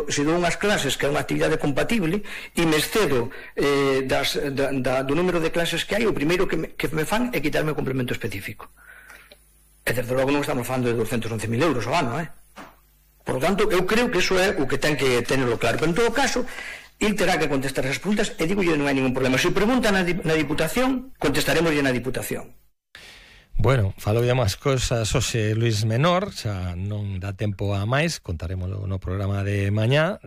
se dou unhas clases que é unha actividade compatible e me excedo do número de clases que hai, o primeiro que me fan é quitarme o complemento específico. E desde logo non estamos falando de 211.000 euros ao ano, Por lo tanto, eu creo que iso é o que ten que tenerlo claro. Pero en todo caso, il terá que contestar esas preguntas e digo, non hai ningún problema. Se preguntan na Diputación, contestaremos na Diputación. Bueno, falou de máis cousas hoxe Luís Menor, xa non dá tempo a máis, contaremoslo no programa de mañá.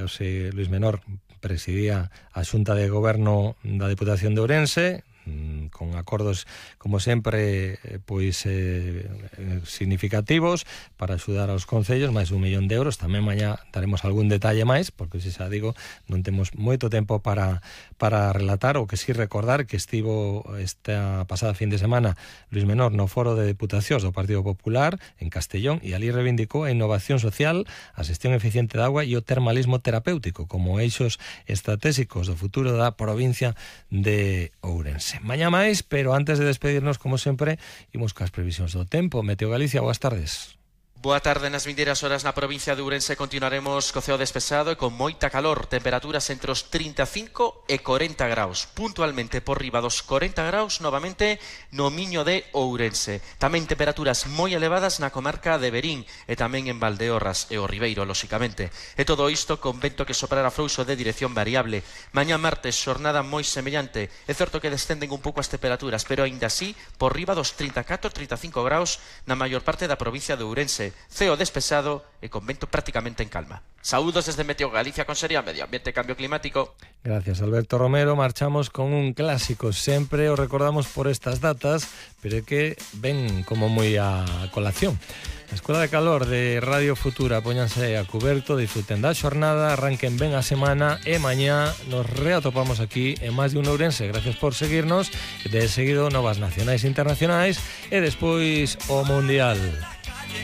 Hoxe Luís Menor presidía a Xunta de Goberno da Diputación de Ourense, con acordos, como sempre, pois significativos para axudar aos concellos, máis de 1 millón de euros. Tamén mañá daremos algún detalle máis, porque, se xa digo, non temos moito tempo para relatar, o que si recordar que estivo esta pasada fin de semana Luís Menor no Foro de Deputacións do Partido Popular en Castellón, e ali reivindicou a innovación social, a xestión eficiente de agua e o termalismo terapéutico como eixos estratégicos do futuro da provincia de Ourense. Mañá máis, pero antes de despedirnos, como sempre, imos cas previsións do tempo. Meteo Galicia, boas tardes. Boa tarde. Nas vindeiras horas na provincia de Ourense continuaremos co ceo despexado e con moita calor, temperaturas entre os 35 e 40 graus, puntualmente por riba dos 40 graus novamente no Miño de Ourense. Tamén temperaturas moi elevadas na comarca de Verín e tamén en Valdeorras e o Ribeiro, lóxicamente. E todo isto con vento que soprará frouxo de dirección variable. Mañá martes, xornada moi semellante. É certo que descenden un pouco as temperaturas, pero aínda así por riba dos 34-35 graus na maior parte da provincia de Ourense. Ceo despexado e con vento prácticamente en calma. Saúdos desde Meteo Galicia, Consellería de Medio Ambiente e Cambio Climático. Gracias, Alberto Romero. Marchamos con un clásico, sempre o recordamos por estas datas, pero é que ven como moi a colación. A Escola de Calor de Radio Futura, póñanse a cuberto, disfruten da xornada, arranquen ben a semana e mañá nos reatopamos aquí en Máis de un Ourense. Gracias por seguirnos, de seguido novas nacionais e internacionais e despois o Mundial.